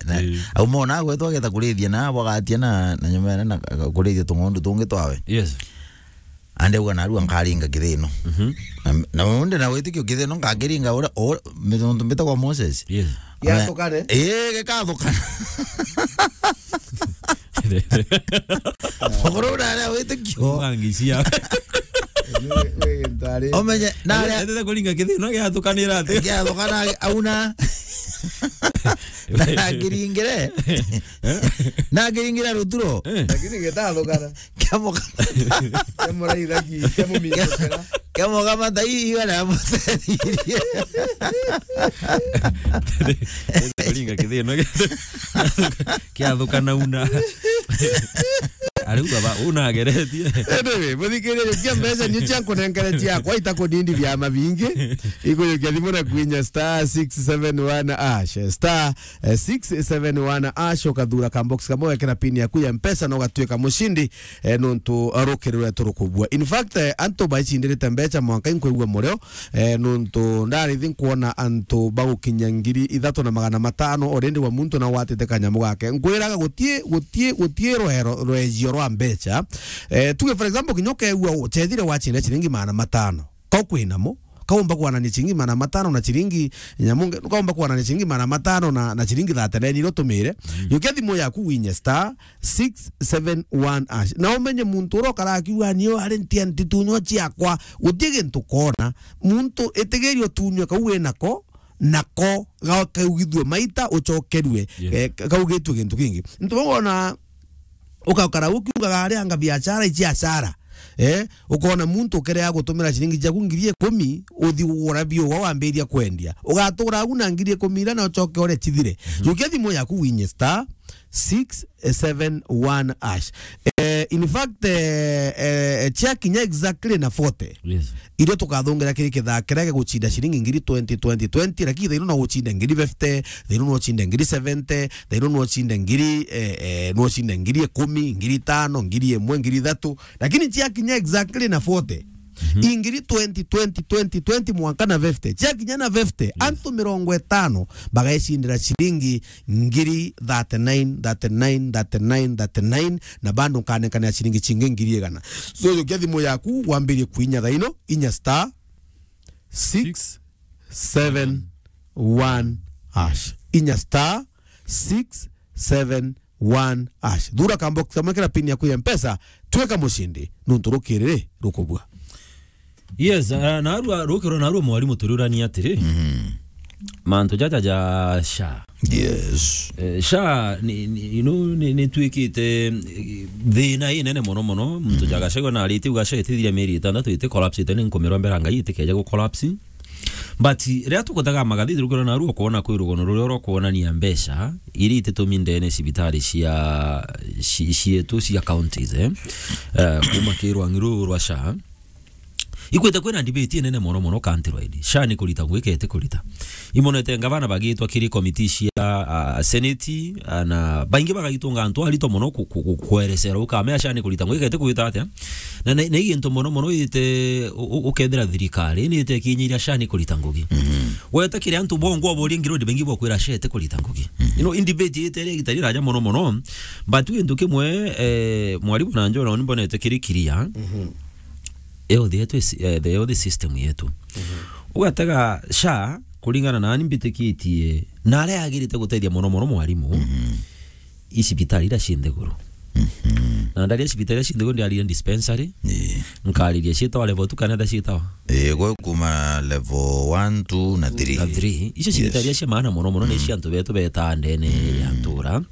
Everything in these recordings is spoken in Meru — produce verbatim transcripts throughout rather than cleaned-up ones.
Na, eh, au mona gwetwa ageta kurithia na bwagatia na, na nyuma ene na ka-, kurithia tung'ondu tungi twawe. Yes. Ande uga narua nkaringa kithino. Mhm. Na, na unde na witikio kithino ngakiringa ura, ura, mituntu mbitagwa Moses. Yes. Ame-, yathukane? Ii, gikathukana. Ukuru na aria witikio. Ngangisia. Omenye, na aria etete kuringa kithino giathukanira ati? Giathukana, auna. Na ngiringire. Na ngiringire ruturo. Eh. Lakini gitathukana. Kiamoka. Kiamuraithaki, kiamumindukira. Kiamoka mata ii, iga na mutethiririe. Kuringa kithino. Kiathukana una. Ariuga ba, unageretie. Anyway, muthikiria, jukia mbeca nio cia nkunenkere ciakwa, itakunindithia mabingi. Ikujukia thimu na kwinya star six seven one hash, star, eh, six seven one hash, ukathura ka box kamwe, wekira pin yaku ya Mpesa na ugatuika mucindi, eh, nontu rukiri rwetu rukubua. In fact, eh, antu baicindirite mbeca mwanka inkwigua murio, eh, nontu ndarithi nkwona antu bagukinya ngiri ithatu na magana matano already wa muntu na watite kanyamu gake. Nkwiraga gutie, gutie, gutie rwero, rwejio rwa mbeca. Eh, tuge for example, kinya ukeegua uchethire wacinda ciringi magana matano. Kau kwinamo, kaumba kwanania ciringi magana matano na ciringi nyamu nge-, kaumba kwanania ciringi magana matano na, na ciringi thirty-nine iria utumire. Mm. Yukia thimu yaku winye star six seven one hash. Na umenye muntu uria ukaraga akiuga, "Nio ari ntia ntitunywa ciakwa," gutie gintu kona. Muntu itigiria utunywe kau winako, nako ga-, kaugithue maita ucokerue, yes, eh, ka-, kaugitue gintu kingi. Ntu bau wona ukakara ukiugaga ari anga biashara ici asara. Eh, ukona muntu ukerea gutumira ciringi ciaku ngiri ikumi, uthi ugura biuga wambiria kwendia. Ugatura agu na ngiri ikumi iria na ucoke ore cithire. Mhm. Jukia thimu yaku winye star six seven one hash. Eh, in fact, eh, eh, ciakinya exactly na forty, yes, irio tukathungira kiri kithaa kiria gigucinda ciringi ngiri twenty, twenty, twenty, lakini thaino no ucinde ngiri fifty, thaino no ucinde ngiri seventy, thaino no ucinde ngiri, eh, eh, no ucinde ngiri ikumi, ngiri itano, ngiri imwe, ngiri ithatu, lakini ciakinya exactly na forty, mhm, ingiri twenty, twenty, twenty, twenty mwanka na fifty. Ciakinya na fifty, yes, antu mirongo itano bagaicindira ciringi ngiri thirty-nine, thirty-nine, thirty-nine, thirty-nine, na bado nkanekanira ciringi cingi ngiri igana. So, jukia thimu yaku, wambirie kuinya thaino, inya star six seven one hash. Inya star six seven one hash. Thura ka box kamwe kira pin yaku ya Mpesa, tweka mucindi, nontu rukiri rukubua. Yes, uh, narua, rukiro narua mwarimu turiurania atiri. Mhm. Mantu jaja ja sha. Yes. Eh, sha ni, ni, you know, ni, ni twikite, eh, thina inene mono mono. Muntu, mhm, ja Gachagua na ariti uga sha itithira mieri itandatu iti collapse ite ni nkumirwa mbera Ngai itikeja gu collapse. But riria tukuthaga magathiti rukiro narua ukoona kwi rugono ruria urokwonania mbeca iria ititumi ndene cibitari cia, ci-, cietu cia counties, eh, eh, kuma ki rwang'i ruru rwa sha. Ikwite kwina debate inene mono mono countrywide. Sha ni kurita ngugi kete kurita. Imonete ngavana bagitwa kiri komiti cia, ah, seneti, ah, na baingi bagagitunga antu arito mono ku-, ku-, ku-, kwerecera ukamea sha ni kurita ngugi kete kurita atia. Na, na, na i gintu mono mono ite u-, u-, ukethira thirikari ni ite kinyiria sha ni kurita ngugi. Mhm. Weta kiri antu bongo obori ngiro ndi bengi bokwira sha ite kurita ngugi. Mhm. You know, in debate ite ria gitari raja mono mono. But gintu kimwe, eh, mwarimu na njona ni mbonete kiri kiria. Mhm. Health yetu is, eh, the health system yetu. Mhm. Ugatega sha, kuringana na ani mbitikitie, na aria agirite gutethia mono mono mwarimu, mhm, i cibitari iria ci nthiguru. Mhm. Na ndaria cibitari iria ci nthiguru, ndiaririe dispensary, ii, nkariria ciitawa level two kana etha ciitawa? Ii, gwe kuma level one, two na three. Na three. Icio cibitari, yes, iria cia maana mono mono ni, mm, cia antu betu betaa ndene, mm, ya ntura. Mm.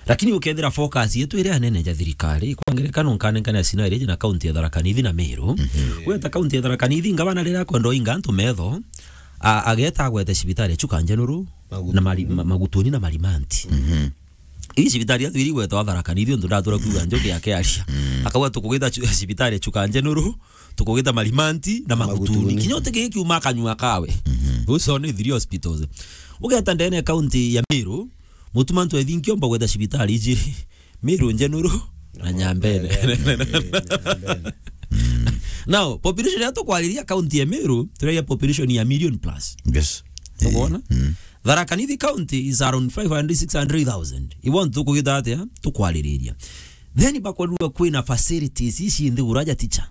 Lakini ukethira focus yetu iria nene ja thirikari, kwa ngerekano nkanengane scenario iji na kaunti ya Tharaka Nithi na Meru. Mhm. Gweta kaunti ya Tharaka Nithi, ngavana riria akwenda oinga antu metho, a-, ageta agwete cibitari ya Chuka Njenuru, Magutuni, na Mari-, ma-, Magutuni na Marimanti. Mhm. Ii cibitari ya thwiri gwetwa Tharaka Nithi, untu ndatura kuuga njuki akiaria. Mm. Akauga, "Tukugita chu-, cibitari ya Chuka Njenuru, tukugita Marimanti na Magutuni." Magutuni. Kinya uti gikiuma kanyua kawe. Mhm. Those are only three hospitals. Ugeta ndene kaunti ya Meru, Mutuma ntwethi nkiomba gweta cibitari ijiri, Meru Njenuru na Nyambene. Nyambene. Now, population ya tukwariria county ya Meru, turaria population ya million plus. Yes. Ukwona? Mm. Tharaka Nithi County is around five hundred, six hundred thousand. Ibo antu tukugita atia? Tukwaririria. Then bakwerua kwina facilities ici nthiguru aja teacher.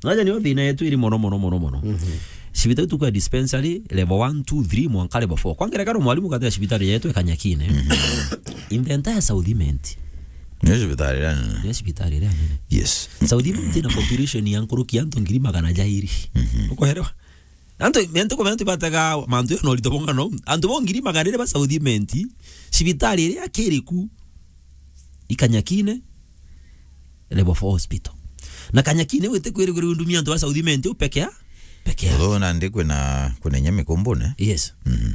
Aja nio thina yetu iri mono, mono, mono, mono. Mhm. Cibitari tukwa dispensary level one, two, three, mwanka level four. Kwa ngerekano, mwalimu katika cibitari yetu e Kanyakine. Mhm. In the entire South Imenti. Ni cibitari iria nene. Ni cibitari iria nene. Yes. South Imenti na population ya nkuruki ya antu ngiri magana jairi. Mhm. Ukoerewa? Antu, mente kwa mente batega mantu yo no rito bonga no. Antu bo ngiri magana iri ba South Imenti, cibitari iria kiriku i Kanyakine, level four hospital. Na Kanyakine wite kwirigirwa undumia antu ba South Imenti u pekea, pekea. Although nandi kwina, kwina inya Mikumbune. Yes. Mhm.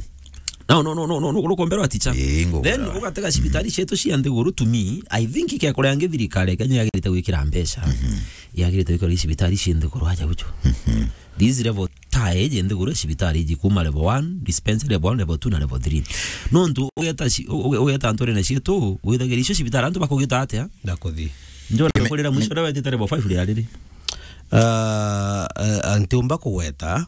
No, no, no, no, no, no, no, kumbero aticha. Ii, ngugura. Then ugatega cibitari cietu cia nthiguru, to me, I think ke kuria ngi thirikari ya Kenya yagirite gwikira mbeca. Mhm. Yagirite gwikira cibitari cia nthiguru aja gucho. Mhm. These level tie je nthiguru cibitari iji kuma level one, dispensary level one, level two na level three. Nontu ugeta ci-, uge-, ugeta antu rene cietu, withagira icio cibitari antu bakugita atia? Ndakuthi. Njona kurira mwisho ria wetite level five ria riri. Ah, eh, ntiumba kugweta,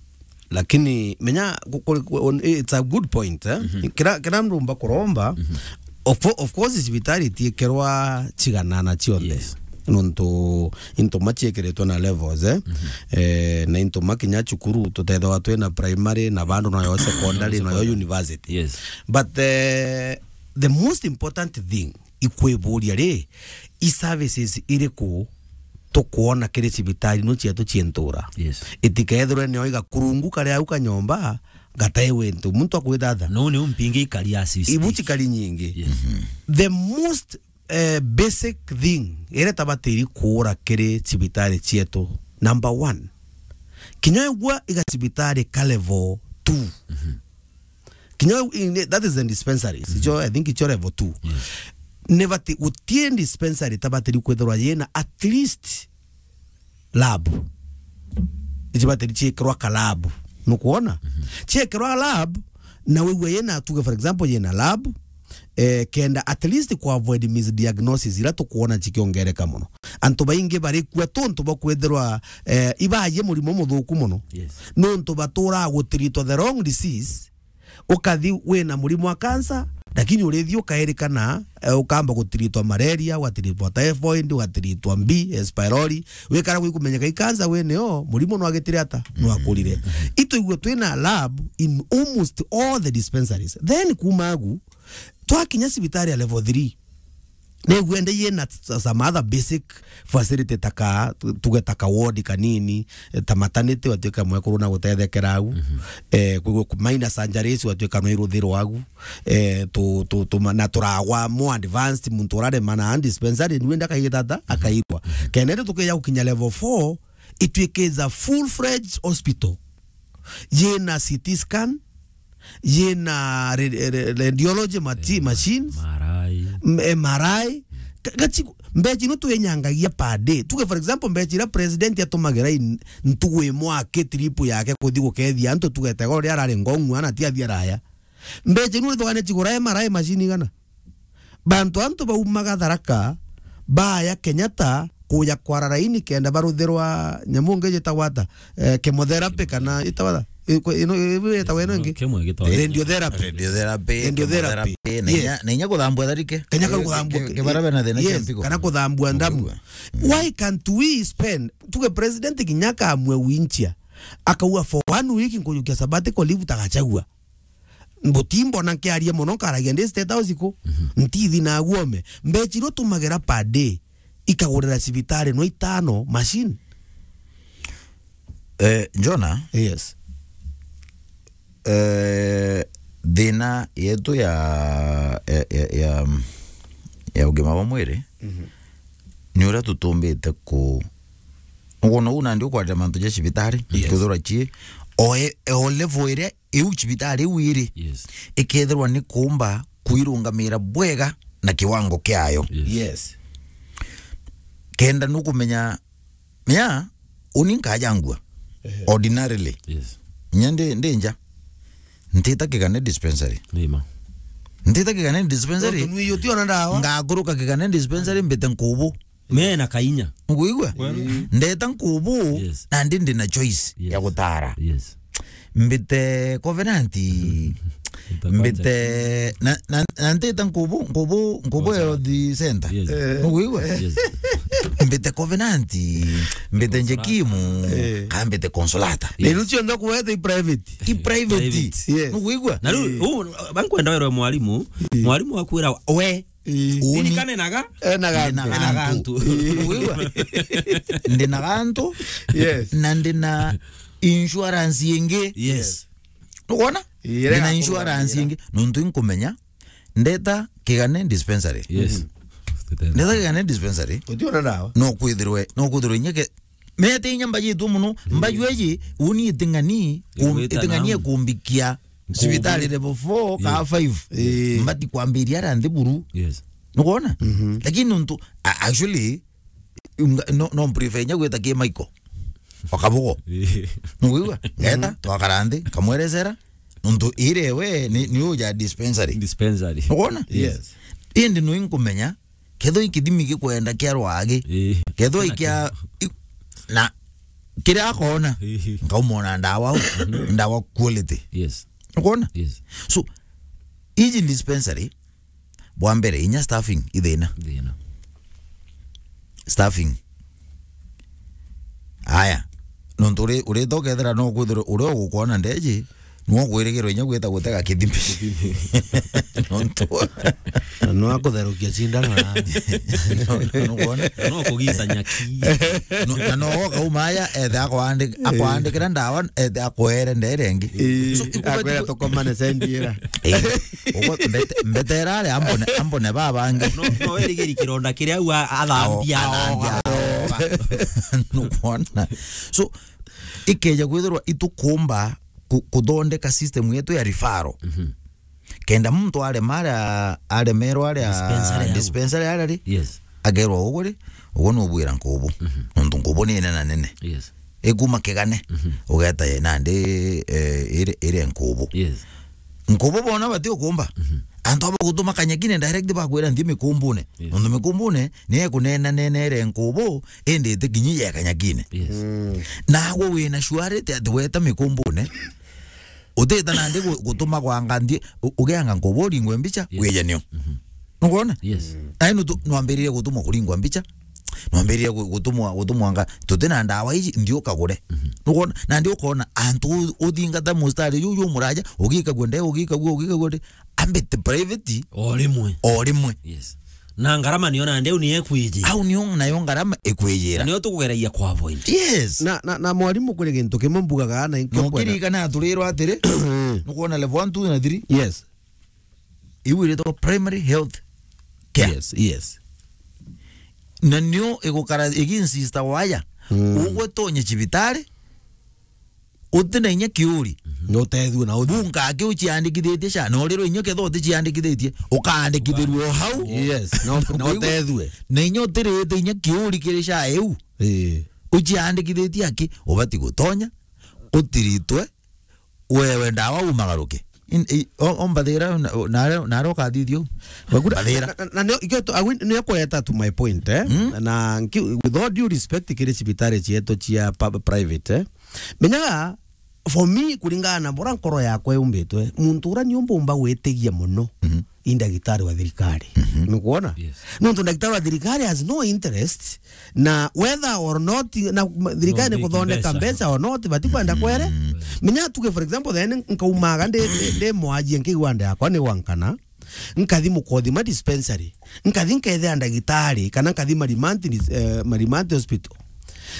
lakini menya ku-, ku-, ku-, it's a good point, eh? Mhm. Kira, kira ndumba kuromba, mhm, of, of course, cibitari itiikirwa ciganana cionthe. Yes. Nontu into ma ciikiritwe na levels, eh? Mhm. Eh, na into ma kinya cukuru, tutethagwa twina primary, na bandu nayo secondary, nayo secondary, university. Yes. But, eh, the most important thing, ikwiburia ri, i services iriku tukwona kiri cibitari no cietu cientura? Yes. Itikethirwe nio igakurungu karia au kanyomba, gatai wintu. Muntu akwithatha. No, ni umpingi ikari assist. Ibu cikari nyingi. Yes. Mhm. The most, eh, basic thing iria tabatiri kuura kiri cibitari cietu, number one, kinya igua iga cibitari ka level two. Mhm. Kinya in, that is the dispensaries. Mhm. Icio, I think icio level two. Yes. Ni bati, gutie dispensary tabatiri kwithirwa yina at least lab. Icio batiri ciikirwa ka lab. Nukwona? Mhm. Ciikirwa lab, na wigua yina, tuge for example, yina lab, eh, kenda at least ku avoid misdiagnosis ira tukwona cikiongereka mono. Antu baingi barikua tontu bwa kwithirwa, eh, ibaye murimo muthuku mono. Yes. Nontu batura gutiritwa the wrong disease, ukathi wina murimo wa cancer, lakini urithi ukairikana, eh, ukamba gutiritwa malaria, ugatiritwa typhoid, ugatiritwa mbi, eh, H. pylori, wikara gwikumenyeka i cancer wene o, murimo no agitire ata, no akurire. Mm. Itwigua twina lab in almost all the dispensaries. Then kuma agu, twakinya cibitari ya level three, Nigwende yina s-, some other basic facility ta ka, tu-, tuge ta ka ward kanini, eh, ta maternity, watuika mwekuru na gutethekera au. Mhm. Eh, ku-, ku-, minor surgeries, watuika no iruthirwa au. Eh, tu-, tu-, tu-, na turagwa more advanced, muntu urarema na dispensary, niwe ndakaigitata, akairwa. Mhm. Kenda indi tukija gukinya level four, ituike is a full-fledged hospital. Yina C T scan, yina re-, re-, radiology mati-, eh, ma-, machines, M R I. M-, M R I. Ka-, gachi-, mbechi ino twenyangagia per day. Tuge, for example, mbechi ira president atumagira in-, ntugu imwe aki trip yake kuthi gukethia antu, tugete goro ria arari Ngong'u, ana ti athi araya. Mbechi ino ithugane chigura M R I machine igana? Bantu antu baumaga Tharaka, baya Kenyatta, kuja kwara raini kenda baruthirwa nyamu ngi jitagwa ata? Eh, chemotherapy kana itagwa ata? Iko-, ino, ibu itagwa ino ingi? Kimwe gitagwa radiotherapy. Radiotherapy, radiotherapy, chemotherapy, na inya, yes, na inya kuthambua tharike. Kenya kau kuthambua ki-, ki-, kibara bena thina kia, yes, mpigo, kana kuthambua ndamu. Mpigo. Mm. Why can't we spend, tuge president kinya akamue winchia, akauga for one week nkujukia sabbatical leave ta Gachagua. Mbutimbona nkiaria mono, nkaragia ndi State House ku. Mhm. Ntithi na guome. Mbechi iria utumagira per day, ikagurira cibitari no itano machine. Eh, Jona? Yes. Eh, thina yetu ya, ya, ya, ya, ya ugima bwa mwiri, mhm, ni uria tutumbite ku-, ukwona uu nandi ukwarira mantu ja cibitari, yes, kuthura cii, o e-, o level iria iu cibitari iu iri, yes, ikethirwa ni kuumba kwirungamira bwega na kiwango kiayo. Yes. Yes. Kenda nukumenya, mea, uni nkaja ngua, ehe, ordinarily. Yes. Nya ndi, ndi nja. Ntita Kigane dispensary. Ni ma. Ntita Kigane dispensary. Tontu nwi utiona ndawa. Ngakuruka Kigane dispensary mbite nkubu. Mena kainya. Nukwigua? Kweli. Ndeta nkubu, yes, nandi ndi na choice, yes, ya gutara. Yes. Mbite Covenant, Mbite, na, na, na ntita Nkubu, Nkubu, Nkubu Health Center. Yes. Eh. Nugwigua? Yes. Mbite Covenant, mbite Njekimu, eh, ka mbite Consolata. Yes. Nenu cionthe kuwete i private. I private. Private. Yes. Nugwigua? Na riu, eh, u, bankwenda werwe mwarimu, eh, mwarimu akwira we, eh, uni, irikananaga, ena gantu. Ena gantu. Nugwigua? Ndina gantu. Yes. Na ndina insurance ingi. Yes. Nukwona? Ire ndina insurance ingi. Nuntu inkumenya, ndeta Kigane dispensary. Yes. Mhm. Ndeta Kigane dispensary. Utiona ndawa? No kwithirwe, no kwithirwe inya ke-, mete inya mbajitwe muno. Mm. Mbaju eji, uni iting'ani, kum-, iting'ania kumbikia cibitari level four ka five. Eh. Mbati kwambiria ara nthi buru. Yes. Nukwona? Mhm. Lakini nuntu, a-, actually, Nga-, no, no mprefer inya gwita ki Michael. Okabugo. Nugwigua? Ngeta, twakara nthi, nkamwerecera. Nuntu ire we ni, ni uja dispensary. Dispensary. Nukwona? Yes. Indi no inkumenya, kethwa i kithimi gikwenda kia rwagi. Eh. Kethwa i kia, i-, na kiria akona, eh, nkaumona ndawa, ndawa quality. Yes. Nukwona? Yes. So, iji dispensary, bwa mbere, inya staffing, i thina. Thina. Staffing. Aya. Nontu uri, urita ukethira no kwithirwa uria ugukwona ndeji, niwe ukwirigirwa inya gwita gutega kithimi. Nontu. Na no akutherukia cindano na. No, no, nukwona? No kugita nyaki. No, na no ukauma aya, ethe akwandi-, eh, akwandikira ndawa, ethe akwere ndere ingi. Eh, so, ikubati akwira ku- tukomane sendi ira. Eh, ugo mbete-, mbetera aria ambone, ambone babangi. No, no werigiri kironda kiria au a-, athambia. Ao, athambia aoga. Nukwona? So, ikeja kwithirwa itukumba ku-, kuthondeka system yetu ya referral. Mhm. Kenda muntu arema aria, aremerwa aria dispensary au. Dispensary aria ri, yes, akerwa ugu ri, ugu nubwira Nkubu. Mhm. Nontu Nkubu ni nene na nene. Yes. Ikuma Kigane, mhm, ugeta ye nandi, eh, ire, ire Nkubu. Yes. Nkubu bona bati ukumba. Mhm. Antu aba gutuma kanyakine direct bakwira nthi mikumbune. Yes. Nontu mikumbune ni ekunena nena ire Nkubu, indi itikinyi ye kanyakine. Yes. Mm. Nagwe wina surety ati weta mikumbune, utita nandi gu-, gutuma gwanga nthi, u-, ugeanga Nkubu uringwe mbicha, yes, wije nio. Mhm. Nukwona? Yes. Ai nutu-, nwambiririe gutumwa kuringwa mbicha. Nwambiririe gu-, gutumwa, gutumwa nga, tuti na ndawa iji, nthi ukagure. Mhm. Nukwona? Na nthi ukona antu u-, uthingata mustari ju, ju muraja, ugikagua nde, ugikagua, ugikagua nde, ambite private. O rimwe. O rimwe. Yes. Na ngarama niyo nande u ni ekwijira. Au niyo nayo ngarama ikwijira. Na niyo tukugeragia kwa avoid. Yes. Na, na, na mwarimu, kuri gintu kimwe mbugaga na inkio. No kwenda. Kiririkana aturirwa atiri, nukwona level one, two na three? Yes. Iu iritagwa primary health care. Yes, yes. Na nio igukara iginsista waya. Mm. Ugwe tonye cibitari, uti na inya kiuri. Mhm. Na utethue na uthi. Bunka aki uciandikithitie sha, na urirwe inya ketho uticiandikithitie, ukaandikithirua o hau. Yes, na u-, na utethue. Na inya utirite inya kiuri kiri sha iu. Ii. Uciandikithitie aki, ubati gutonya, utiritwe, wewe ndawa umagaruke. In-, i-, o-, ombathira na, na, nare ukathithio. Mbathira. Na, na, na nio, ikio tu, agwi, nio kureta to my point, eh? Mm. Na nki-, with all due respect kiri cibitari cietu cia pub-, private, eh? Menyaga, for me, kuringana na bura nkoro yakwa yumbitwe, muntu ura niumba umba gwitigia muno. Mhm. I ndagitari wa thirikari. Mhm. Nukwona? Yes. Nontu ndagitari wa thirikari has no interest na whether or not, na ma-, thirikari ni kuthondeka mbeca or not, batikwenda kwere. Mm. Menya tuge, for example, then nkaumaga ndi, ndi, ndi mwajie nkigwa nda yakwa ni gwankana, nkathi Mukothima dispensary, nkathi nkethira ndagitari, kana nkathi Marimanti dis-, eh, Marimanti hospital.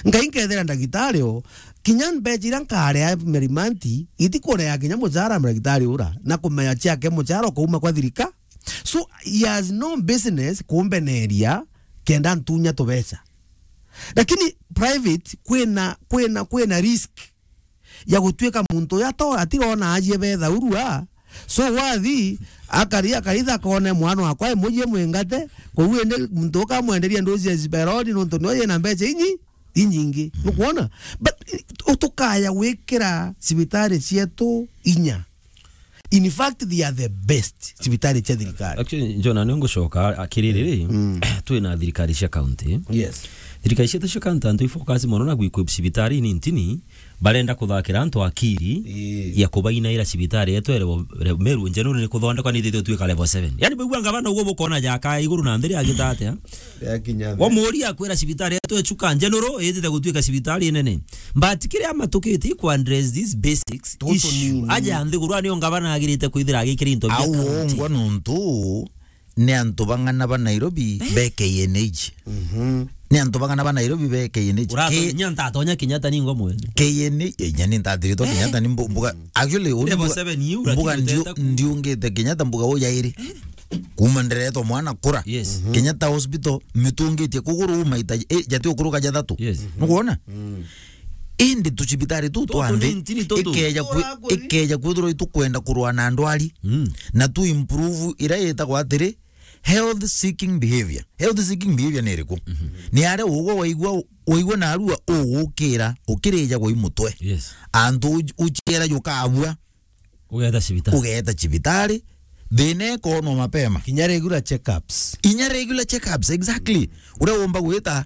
Nkathi nkethira ndagitari o, kinya mbeca iria nkaria Marimanti, itikurea kinya mucara wa ndagitari ura, na kumenya ciake mucara ukauma kwa thirika. So, he has no business kumbeneria kenda ntunya tubeca. Lakini private kwina, kwina, kwina risk ya gutuika muntu uyu ato-, atirona ajie betha urua. So, wathi, akari, akaitha akone mwana wakwa e mujie mwingate, kou indi muntu ukamwenderia ndozi ya Ziberoni nontu nio yina mbeca inyi-, inyingi. Mm. Nukwona? But, eh, utukaya gwikira cibitari cietu inya. In fact, they are the best cibitari cia thirikari. Actually, John, ni ngucoka akiriri ri, mm, twina thirikari cia county. Yes. Thirikari cietu cia county, antu i focus mono na gwi-equip cibitari ni ntini, Barenda kuthakira antu akiri Ii. ya kubainaira cibitari yetu ya level, level, Meru General ni kuthondekwa ni ithithwe twika level seven. Yani, bigua ngavana uguo bukona jaka iguru na nthiri agita atia? Yakinya nthi. Wamuria akwira cibitari yetu ya Chuka General itite gutwika cibitari nene. But kiria amatukite ku address these basics Tutu issue. nini. Aja nthiguru, anio ngavana agirite kwithira agikira into bia Au county. Ongwa nontu ni antu bang'ana ba Nairobi Eh? be K N H. Mhm. Ni antu bang'ana ba Nairobi be K N H. Uratonya Ke- ntatonya Kenyatta ningo mwene. K N H, eh, nyani ntatiritwa Eh? Kenyatta ni mbu-, mbuga, actually, uni Level mbuga, seven yu, mbuga lakini ndio, uteta ku- ndiungite Kenyatta mbuga ujairi. Kuma nderetwa mwana kura. Yes. Mhm. Kenyatta Hospital, mitungitie kuguru maita, eh, jati ukuruka jathatu. Yes. Nukwona? Mm. Indi tucibitari tu Tutu twa nthi, ni ntini tutu. ikeja kwi-, Ura kuri. ikeja kwithirwa itukwenda kurwa na ndwari, Mm. na tu improve ira itagwa atiri, health seeking behavior. Health seeking behavior ni iriku? Mhm. Ni aria ugwe waigua, waigua narua ugukira, ukirija gwa imutwe. Yes. Antu uj-, uchiera jukabua. Ugeeta cibitari. Ugeeta cibitari, thina ikonwa mapema. Kinya regular checkups. Inya regular checkups, exactly. Uria umba gwita,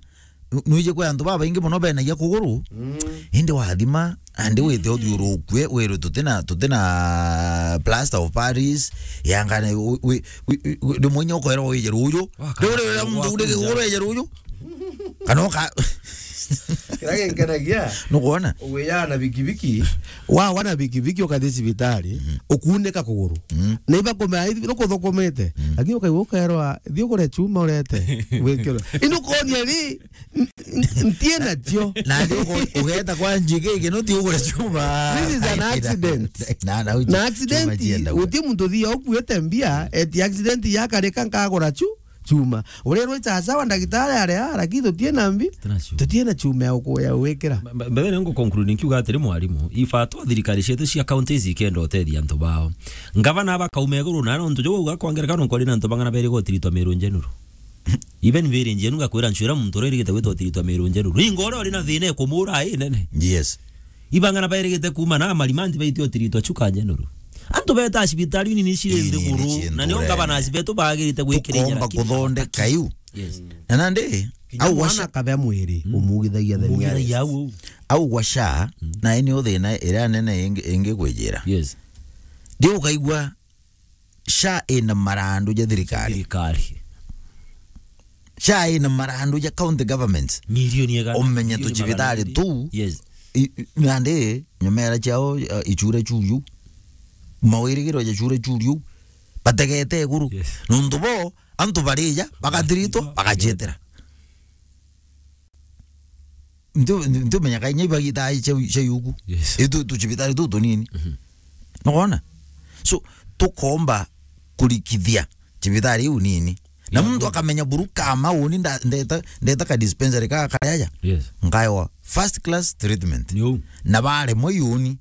nu-, nwije kwi antu babaingi mono benagia kuguru, Mm. indi wathima, andi wite uthiurukue, wirwe tutina, tutina plaster of Paris, yangane, wi-, wi-, wi-, wi-, rimwe inya ukoerwa wije ruju. Waka-, Riu ri uria muntu wakunja. Uri kuguru wije ruju. Kana uka- Kira ginkenagia, Nukwona? Ugwiyana bikibiki. Wa, wana bikibiki ukathi cibitari, Mhm. ukuuneka kuguru. Mhm. Na iba kumea, ithi, nukuthukumite. Mhm. Lakini ukaigua ukerwa, "Thi ugure chuma urete, wikirwe." Indi ukonia ri, n-, n-, ntie nacio. Na ndi uko-, ugeeta kwa njiki, iki no ti ugure chuma. This is an accident. Na, na, Na chuma accident, chienda. Guti muntu thia ukuite mbia, eti accident yakarika nkagura chu-, chuma. Urirwe chacha wa ndagitari aria, lakini tutie na mbi, Tutina chuma. Tutie na chuma ya uku-, ya gwikira. Mbe-, mbe-, mbere ngu conclude nkiuga atiri, mwarimu, ibato thirikari cietu cia counties ikenda utethia antu bao. Ngavana aba kauma iguru, na nontu jo uga kwa ngerekano nkori na antu bang'ana beri gotiritwa Meru General. Even Meru General ngakwira ncwira muntu uria irigite gwitwa utiritwa Meru General. Ringo uria uri na thina ikumura i nene. Yes. Ibang'ana bairigite kuuma na marimanti baitio tiritwa Chuka General. Antu beta cibitari nini ciri Ii, nini nthiguru, ciri na nio nthiguru, ngabana eh. Aci betu bagirite gwikiriria Tukomba lakini kuthondeka iu. Yes. Na nandi, Kinya au mwana washa- akabea mwiri, Mm. umugithagia the Umugithagia nearest. Au, au. Au gwa sha, Mm. na ini uthina iria nene ingi, ingi kwijira. Yes. Ndi ukaigua sha ina marandu ja thirikari. Thirikari. Sha ina marandu ja county government. Milioni igana, Umenye milioni tucibitari magana merĩ. Tu. Yes. I, i, nandi, nyomera ciao, uh, ichure chuyu. Mawirigiro ja chure chuyu. Bategete iguru. Yes. Nontu bo, antu barija, bagatiritwa, bagacetera. Ntu-, ntu-, ntumenya kai nyaiba gita ai cia, cia yuku. Yes. Itu tucibitari tu tunini. Mhm. Nukwona? So, tukomba kurikithia cibitari iu nini. Na Yeah, muntu good. Akamenya buru kama uni nda-, ndeta, ndeta ka dispensary ka karaya. Yes. Nkaewa first class treatment. Ni uu. Na baremwe iuni.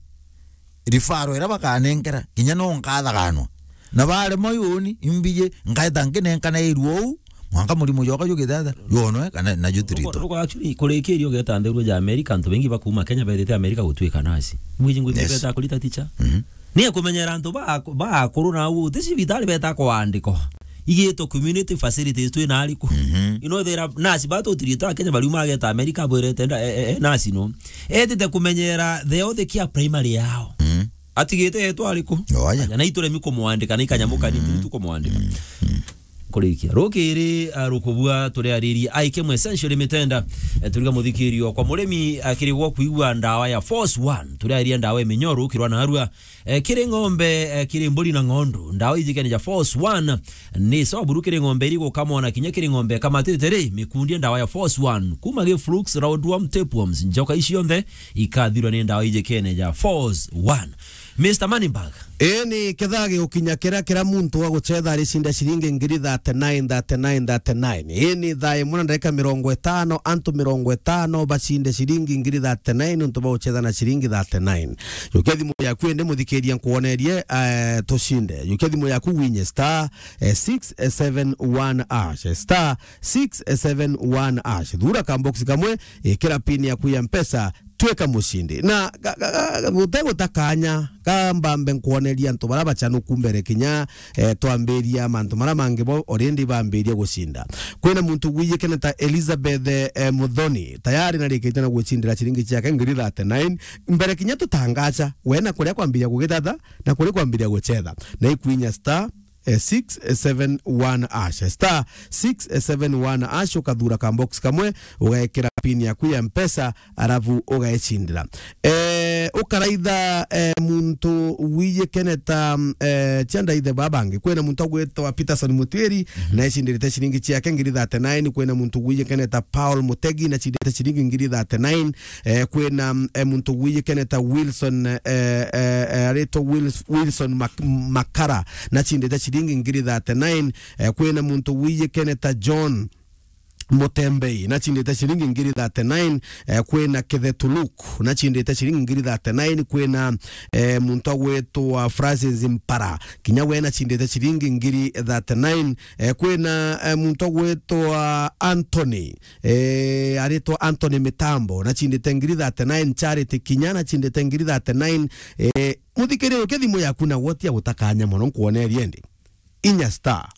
Rifaro ira bakanenkera, kinya no nkathaganwa. Na baremwa yoni, imbiji, nkaeta nkinenkana irua uu, mwanka murimo jwakwa jugitata, jwonwe, kana na jutirito. Ruko, ruko actually, kurikiria ugeta nthiguru ja America, antu bengi bakuuma Kenya bethite America gutwika nasi. Mwiji ngwiti Yes. beta kurita teacher. Mhm. Ni kumenyera antu ba, ba akuru na uu, ti cibitari beta kwandikwa. Igitwe community facilities twi na ariku. Mhm. Ino thera nasi batutirito a Kenya bariuma ageta America bwirete nda, e, e, e, nasi no. Etite kumenyera the other care primary yao. Mhm. Atigite etwa ariku? Oya. Aja, na ituremi kumwandika, na ikanyamuka ni Mm. tu kumwandika. Mm. Mm. Kurikia. Rukiri, ah, rukubua turiaririe I K M Essential Limited, eh, turiga muthikirio kwa murimi, ah, kirigwo kuigua ndawa ya Force One. Turiaririe ndawa ya minyoru, kirwa na arua, eh, kiri ng'ombe, eh, kiri mburi na ng'ondu. Ndawa iji kene ja Force One ni sawa buru kiri ng'ombe iri gukamwa na kinya kiri ng'ombe kamatite ri, mikundi ndawa ya Force One. Kuma gi flukes, roundworm, tapeworms, njoka ici onthe ikathirwa ni ndawa iji kene ja Force One. Mister Moneyback. Ii ni kethaa gigukinya kiria, kiria muntu wa gucetha aricinda ciringi ngiri thirty-nine, thirty-nine, thirty-nine. Ii ni thaa imwe na ndagika mirongo itano, antu mirongo itano bacinde ciringi ngiri thirty-nine nontu ba gucetha na ciringi thirty-nine. Jukia thimu yaku indi muthikiria nkuonerie, eh, tucinde. Jukia thimu yaku winye star, eh, six seven one hash. Star six seven one hash. Thura kambox kamwe, ikira pin yaku ya Mpesa, twika mucindi. Na ga-, ga-, ga-, ga-, gute guta kanya, ka mbambe nkwoneria antu bara bachanuku mbere kinya, eh, twambiria mantu mara mangi bo already bambirie gucinda. Kwina muntu gwijikene ta Elizabeth, eh, Muthoni, tayari narikite na gwicindira ciringi ciake ngiri thirty-nine. Mbere kinya tutangacha, we na kuria kwambiria gugithatha, na kuria kwambiria guchetha. Na ikwinya star, eh, six seven one hash. Star six seven one hash, ukathura ka box kamwe, ugaikira pin yaku ya Mpesa, arabu ugaicindira. Eh, ukaraitha, eh, muntu wijikene ta, eh, cia ndaithe babangi. Kwina muntu agwitwa Peterson Mutwiri, mhm, na ecindirite ciringi ciake ngiri thirty-nine. Kwina muntu wijikene ta Paul Mutegi, na cindite ciringi ngiri thirty-nine. Eh, kwina, eh, muntu wijikene ta Wilson, eh, eh, eh, aritwa Wils-, Wilson Mak-, Makara, na cindite ciringi ngiri thirty-nine. Eh, kwina muntu wijikene ta John Mutembei, na cindite ciringi ngiri thirty-nine. Eh, kwina Kithetuluk, na cindite ciringi ngiri thirty-nine. Kwina, eh, muntu agwitwa Francis Mpara, kinya we na cindite ciringi ngiri thirty-nine. Eh, kwina, eh, muntu agwitwa Anthony, eh, aritwa Anthony Mitambo, na cindite ngiri thirty-nine. Charity kinya na cindite ngiri thirty-nine. Eh, muthikiririe, ukia thimu yaku na gwotia guta kanya mono, nkwonerie ndi. Inya star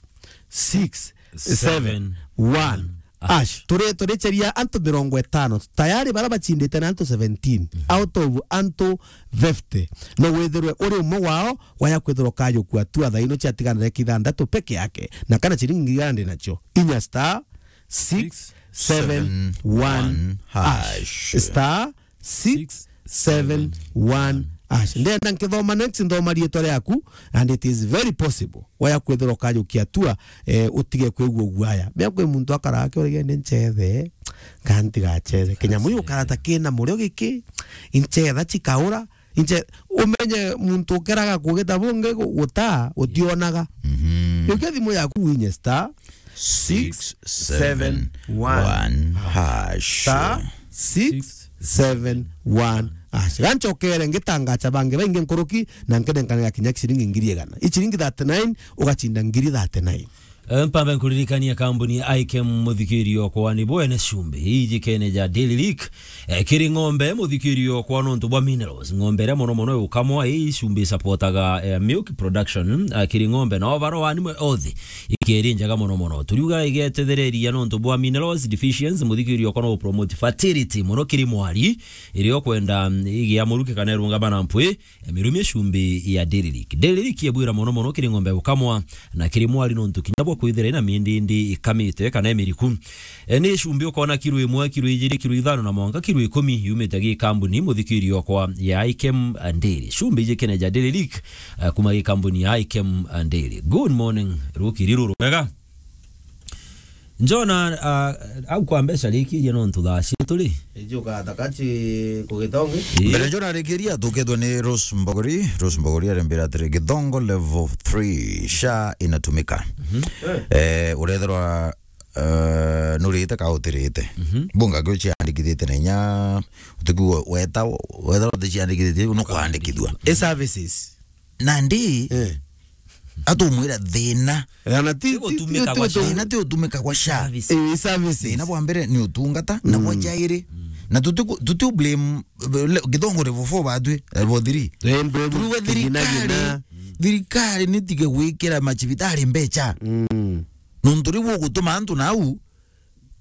six seven one hash. Turi, turicheria antu mirongo itano. Tayari bara bachindite na antu seventeen, mhm, out of antu fifty. No withirwe uri umwe wao, waya kwithirwa ukajukua tu, athaino ciatiganire kithantatu peke yake. Na kana ciringi ngiri igana ndi nacio. Inya star six seven one hash. Star six seven one hash. Ndenda nkithoma next, nthoma riitwa riaku, and it is very possible waya kwithirwa ukajukia tua, eh, utige kwigua guaya. Mea kwi muntu akaraga akiuria, "Ni nchethe, kana ntigachethe?" Kinyamu giu ukarata kina murio giki, inchetha cikaura, inche-, umenye muntu ukeraga kugita bungi gu-, gutaa, utionaga. Mhm. Jukia thimu yaku winye star six seven one hash. Star six seven one hash. Ganchokere ngitangacha bangi baingi nkuruki, na nkenenkanira kinya ciringi ngiri igana. I ciringi thirty-nine, ugachinda ngiri thirty-nine. Eh, mpambe nkuririkania kambuni ya Ikem, muthikirio kwa ni bwene cumbi ijikene ja Daily Leak. Eh, kiri ng'ombe, muthikirio kwa nontu bwa minerals. Ng'ombe iria mono mono iukamwa, ii cumbi supportaga, eh, milk production, eh, kiri ng'ombe na overall animal health. Ikeri njega mono mono. Turiuga igetethereria nontu bwa minerals deficiency, muthikirio kwa no promote fertility mono kiri mwari, irio kwenda, mm, igia muruki kana irungama na mpwi, eh, mirumie cumbi ya Daily Leak. Daily Leak ibwira mono mono kiri ng'ombe gukamwa na kiri mwari nontu kinya bwa kwithira ina mindindi ikamite kana imiriku. Eh, ni cumbi ukona kiro imwe, kiro ijiri, kiro ithano na mwanka kiro ikumi yumite gi kambuni muthikirio kwa ya Ikem Dairy. Cumbi ijikene ja Daily Leak, eh, kuma gi kambuni ya Ikem Dairy. Good morning, rukiri ruru rwega. Njona, ah, au kwa mbeca rikiria nontu thaa cietu ri? Ijuka takati kugitongi. Ii. Mbere njona rikiria tukethwa ni Rose Mbogori. Rose Mbogori arembera atiri, Githongo level three, sha inatumika. Mhm. Eh, uretherwa, eh, nurite ka utirite. Mhm. Bunga kio ciandikithite na inya, utiku weta, wetherwa uticiandikithite, nukwandikithua. E services. Nandi, eh, atumwira thina. Eh, na ti, ti, ti, ti gutumika ti gwa gutu-, sha. Thina ti gutumika gwa sha. Service. Eh, services. Thina bwa mbere ni utungata, na bwa, mm, jairi. Mm. Na tuti ku-, tuti blame, eh, le-, Githongo level four batwi, eh, level three. Eh, mbe-, turuga kigina thirikari, gina. Thirikari ni tige gwikira macibitari mbecha. Mm. Nontu riu ugutuma antu nau,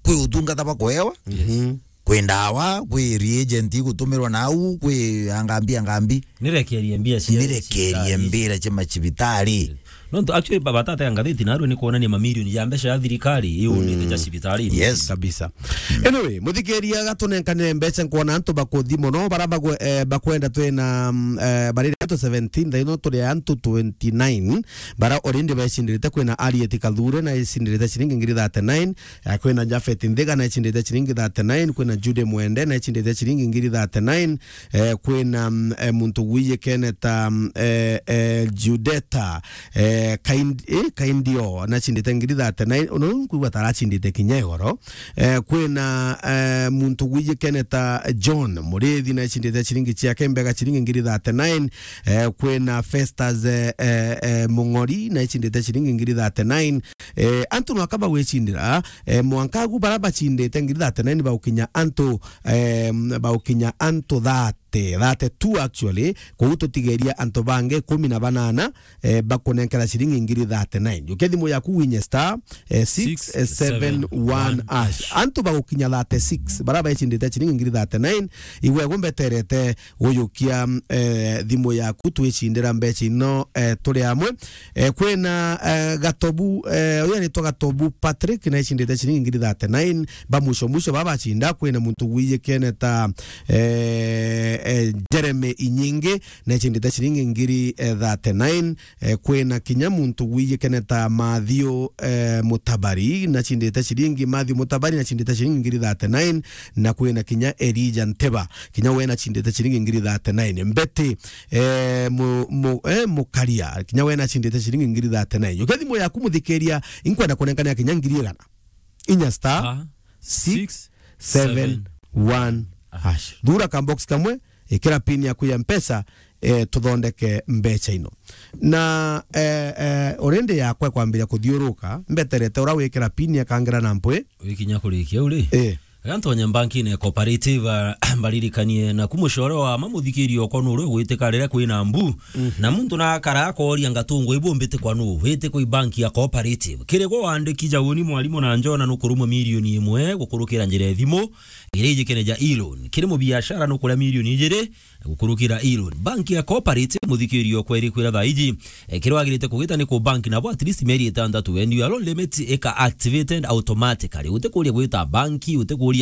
kwi utungata bwa kuewa, yes, kwi ndawa, kwi reagent igutumirwa nau, kwi angambi, angambi. Nirekerie mbia cia, nirekerie mbira cia macibitari. Nontu actually, ba-, batata ya ngathiti narua ni kuonania mamirioni ya mbeca ya thirikari iunite ja cibitari. Yes. Kabisa. Anyway, muthikiria gatunenkanire mbeca, nkwona antu bakuthi mono, bara bagwe-, eh, bakwenda twina, mm, eh, barire antu seventeen, thaino turi antu twenty-nine, bara already bacindirite. Kwina Arieti Kathure na icindirite ciringi ngiri thirty-nine, Eh, kwina Japhet Nthiga na icindite ciringi thirty-nine, kwina Jude Mwende na icindite ciringi ngiri thirty-nine, eh, kwina, mm, eh, muntu gwijikene ta, mm, eh, eh, Judeta, eh, eh, Kind-, eh, Kindio, nacindite ngiri thirty-nine, uno nkwigua taracindite kinya igoro. Eh, kwina, eh, muntu gwijikene ta John Murithi, nacindite ciringi ciake mbega ciringi ngiri thirty-nine. Eh, kwina Festus, eh, eh, eh, Mung'ori, nacindite ciringi ngiri thirty-nine. Eh, antu nwaka bagwicindira, eh, mwanka agu bara bacindite ngiri thirty-nine baukinya antu, eh, baukinya antu thirty, thirty-two actually, koguo tutigeria antu bangi kumi na banana, eh, bakunenkera ciringi ngiri thirty-nine. Jukia thimu yaku winye star, eh, six seven one hash. Antu bagukinya thirty-six, bara baicindite ciringi ngiri thirty-nine, igwe gumbeterete gujukia, eh, thimu yaku twicindira mbeca ino, eh, turi amwe. Eh, kwina, eh, Gatobu, eh, uyu aritwa Gatobu Patrick, naicindite ciringi ngiri thirty-nine. Ba mwisho mwisho baba bacinda, kwina muntu gwijikene ta, eh, eh, Jeremy Inyingi, naicindite ciringi ngiri, eh, thirty-nine. Eh, kwina kinya muntu gwijikene ta Mathiu, eh, Mutabari, nacindite ciringi, Mathiu Mutabari, nacindite ciringi ngiri thirty-nine, na kwina kinya Elijah Nteba, kinya we nacindite ciringi ngiri thirty-nine. Mbeti, eh, mu-, mu-, eh, Mukaria, kinya we nacindite ciringi ngiri thirty-nine. Jukia thimu yaku muthikiria, inkwenda kunenkanira kinya ngiri igana. Inya star six seven one hash. Thura ka box kamwe, ikira pin yaku ya Mpesa, eh, tuthondeke mbeca ino. Na, eh, eh, already yakwa kwambiria kuthiuruka, mbeterete ura wikira pin akangira na mpwi. Wikinya kurikia uri? Eh. Gantonya mbankine ya Cooperative, ah, mbaririkanie naku mucore wa mamuthikirio okwa nuru gwitika riria kwina mbu. Mhm. Na muntu nakara akoria ngatungu ibu mbite kwa nu, wite kwa banki ya Cooperative. Kiri gwa wandiki jauni mwarimu na njona nukurumwa milioni imwe gukurukira njira ya thimu, iria ijikene ja e-loan. Kiri mubiashara nukuria milioni ijiri, gukurukira e-loan. Banki ya Cooperative, muthikirio okwa iri kwira thaa iji, eh, kiria wagirite kugita ni ku bank nabo at least mieri itantatu, and your loan limit ika activated automatically. Utikuria gwita banki, utikuria,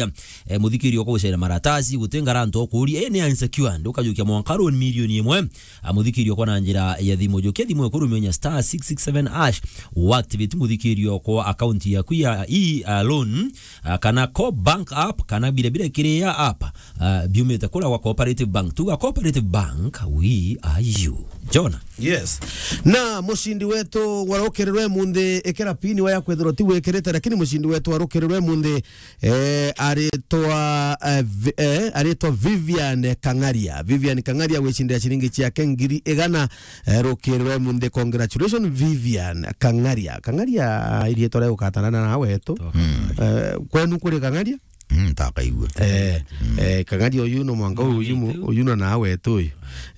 eh, muthikirio okwa gucera maratasi, guti ngaranto okuria, eh, ni unsecured, ukajukia mwanka loan milioni imwe, ah, muthikirio okwa na njira ya thimu. Jukia thimu ekurumia star six six seven hash, uactivate muthikirio okwa account yaku ya e, ah, loan, ah, kana Co-bank app, kana bira bira kiria app, ah, biumite kura gwa Cooperative Bank. Tuga Cooperative Bank, we are you. Jona? Yes. Na mucindi wetu warukirirwe munthi, ikira pini waya kwithirwa ti wikirite, lakini mucindi wetu warukirirwe munthi, eh, aritwa, eh, Vi-, eh, aritwa Vivian Kang'aria. Vivian Kang'aria gwicindira ciringi ciake ngiri igana, eh, rukirirwe munthi. Congratulations, Vivian Kang'aria. Kang'aria, irietwa ria gukatanana nawe tu. Eh, kwenu kuri Kang'aria? Mm, ntakaigua. Eh, eh, Kang'aria uyu no mwanka uyu mu-, uyu no nawe tu uyu.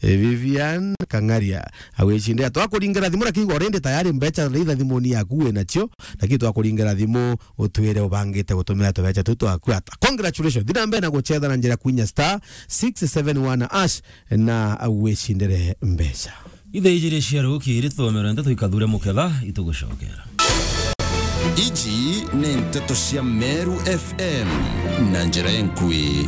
Eh, Vivian Kang'aria, agwicindira. Twakuringira thimu, lakini already tayari mbeca ritha thimuni yaku winacio, lakini twakuringira thimu utwire ubangite gutumira tubeca tu twaku ata. Congratulations. Thina mbere na gucetha na njira kwinya star six seven one hash na wicindire mbeca. Ithaa ijiri cia rukiri tuthomera ndeto ikathure muketha itugucokera. Iji ni nteto cia Meru F M na njira enkui.